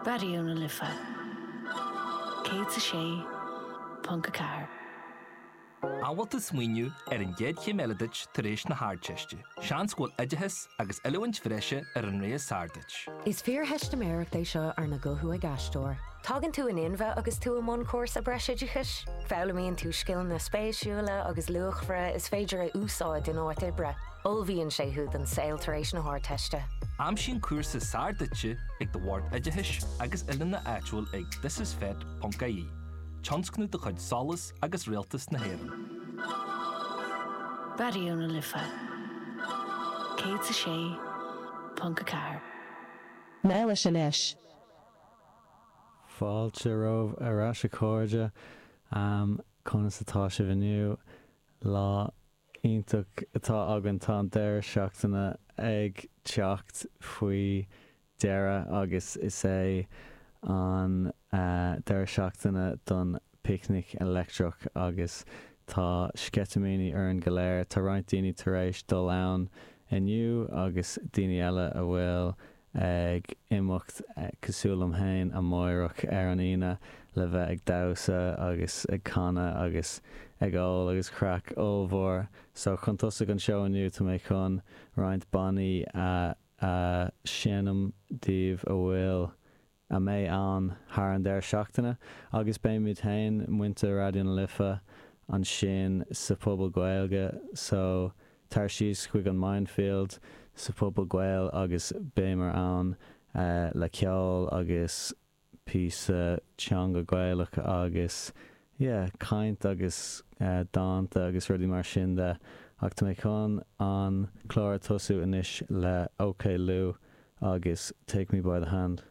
Raidió na Life 106.4. An bhfuil tú ag smaoineamh ar an gcéad chéim eile duit tar éis na hArdteiste? Seans go bhfuil oideachas agus oiliúint bhreise ar an rogha is fearr duit. Is fíortheistiméireacht é seo arna guthú ag aisteoir. Tagann tú in inmhe agus tú i mbun cúrsa breisoideachais. Foghlaimíonn tú scileanna spéisiúla agus luachmhara is féidir a úsáid in áit oibre. Ullmhaíonn sé thú don saol tar éis na hArdteiste. Aimsigh an cúrsa is fearr duitse ag do bhord oideachais agus oiliúna áitiúil ag thisisfet.ie, tionscnamh de chuid SOLAS agus Rialtas na hÉireann. Raidió na Life 106.4. Meánaois anois. Fáilte romhaibh ar ais a chairde. Conas atá sibh inniu? Lá iontach atá againn, tá an deireadh seachtaine ag teacht faoi dheireadh agus is é an deireadh seachtaine don Picnic Leictreach agus tá sceitimíní orainn go léir. Tá roinnt daoine tar éis dul ann inniu agus daoine eile a bhfuil ag imeacht, cosúil liom féin, amáireach ar an Aoine le bheith ag damhsa agus ag canadh agus ag ól agus craic ollmhór. So chun tosaigh an seó inniu tá mé chun roinnt bannaí a a sheinm daoibh a bhfuil a mbeidh ann thar an deireadh seachtaine agus beimid féin, muintir Raidió na Life, ansin sa Phuball Gaeilge so tar síos chuig an Mindfield sa Phuball Gael agus beimid ann le ceol agus píosa teanga Gaelach agus yeah caint agus dánta agus rudaí mar sin de ach tá mé chun an clár a tosú anois le OK Lou agus Take Me By The Hand.